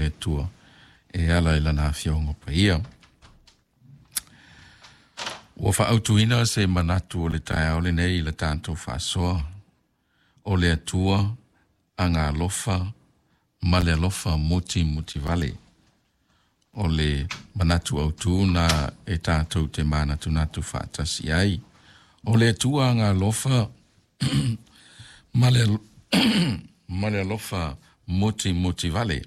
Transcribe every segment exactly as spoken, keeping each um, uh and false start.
le Atua e ala i Lana Afioga Paia. Ua faaautuina se manatu o le taeao lenei i le tatou faasoa, o le Atua agaalofa ma le alofa mutimutivale. O le manatu autu na e tatou te manatunatu faatasi ai. O le Atua agaalofa ma le, ma le alofa mutimutivale.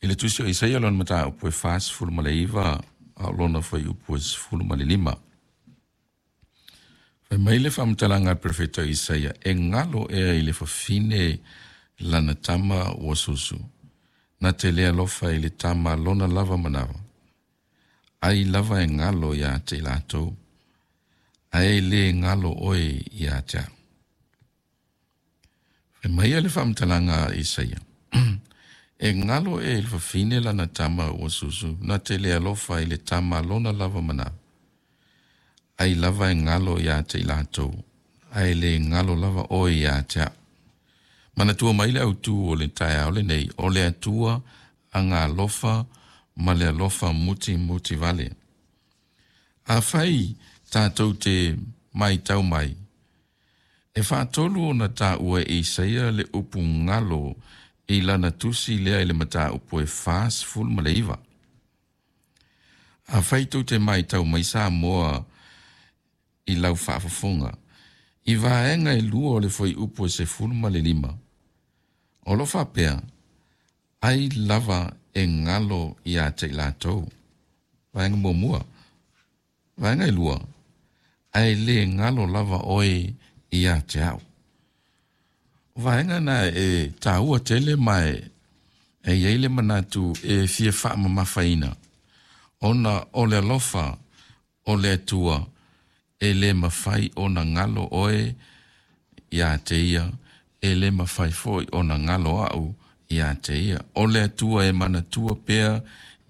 I le tusi o Isaia lona mataupu e fasefulu ma le iva, a o lona fuaiupu e sefulu ma le lima. Fai mai le faamatalaga a le perofeta o Isaia, e galo ea i le fafine lana tama ua susu, na te le alofa i le tama lona lava manava. Ai lava e galo ia te i latou, ae le galo oe ia te au. Fai mai le faamatalaga a Isaia, e galo ea i le fafine lana tama ua susu, na te le alofa i le tama lona lava manava. Ai lava e galo ia te i latou, ae le galo lava oe ia te au. Manatua mai le autu o le taeao lenei, o le Atua agaalofa ma le alofa mutimutivale. Afai tatou te matau mai, e faatolu ona taua e Isaia le upu galo i lana tusi lea i le mataupu e fasefulu ma le iva. Afai tou te matau mai Samoa i lau faafofoga, i vaega e lua o le fuaiupu e sefulu ma le lima, o lo o faapea, ai lava e galo ia te i latou. Vaega muamua. Vaega e lua, ae le galo lava oe ia te au. O vaega na e taua tele ma e e i ai le manatu e fia faamamafaina, ona o le alofa o le Atua e le mafai ona galo oe ia te ia, e le mafai foi ona galo au ia te ia. O le Atua e manatua pea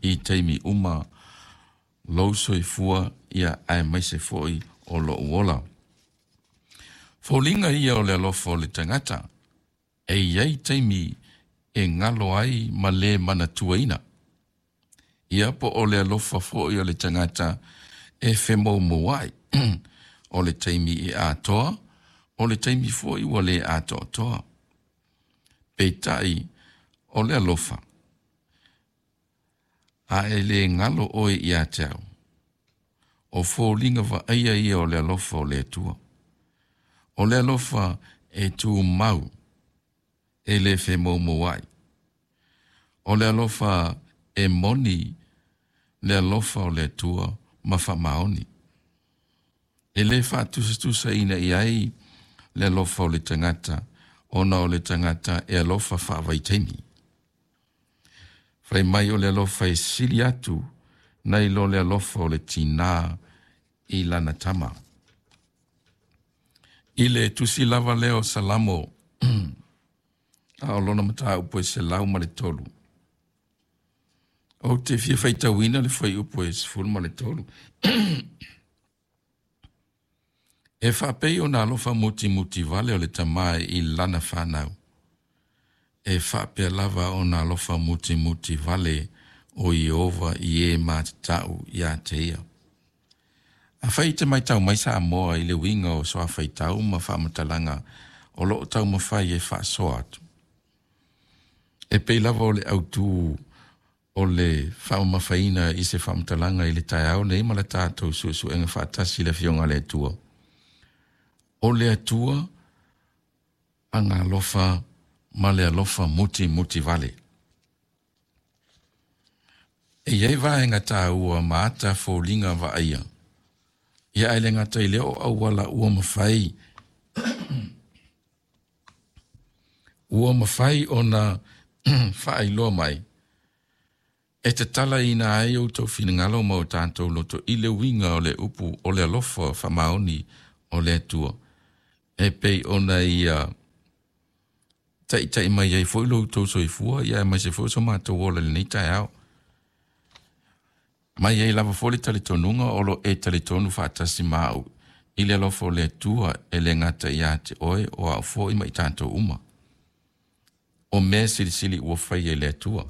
i taimi uma lou soifua ia aemaise foi o lou ola. Foliga ia o le alofa o le tagata, e i ai taimi e galo ai ma le manatuaina. Ia po o le alofa foi o le tagata e femoumouai. O le taimi e atoa, o le taimi foi ua le atoatoa. Peitai o le alofa, a e le galo oe ia te au. O foliga vaaia ia o le alofa o le Atua. O le alofa e tumau, e le femoumouai. O le alofa e moni, le alofa o le Atua ma faamaoni. E le faatusatusaina i ai le alofa o le tagata, ona o le tagata e alofa faavaitaimi. Fai mai o le alofa e sili atu nai lo le alofa o le tinā i lana tama. I le tusi lava lea o Salamo, a o lona mataupu e selau ma le tolu. Ou te fia faitauina le fuaiupu e sefulu ma le tolu. E faapei ona alofa mutimutivale o le tamā i lana fanau. E faapea lava ona alofa mutimutivale o Ieova i e matatau ia te ia. Afai e te matau mai Samoa i le uiga o suafaitau ma faamatalaga o lo o taumafai e faasoa atu. E pei lava o le autu o le faamamafaina i se faamatalaga i le taeao nei ma le tatou suesuega faatasi i le Afioga a le Atua. O le Atua agaalofa ma le alofa mutimutivale. E i ai vaega taua ma ata foliga vaaia. Ia ae le gata i lea o auala ua mafai ua mafai ona faailoa mai e tatalaina ai outou finagalo ma o tatou loto i le uiga o le upu o le alofa faamaoni o le Atua e pei ona ia taitai mai ai foi lo outou soifua ia aemaise foi o so matou ola i lenei taeao. Mai ai lava foi le talitonuga o lo o e talitonu faatasi ma au i le alofa o le Atua e le gata ia te oe o au foi ma i tatou uma. O mea silisili ua faia e le Atua.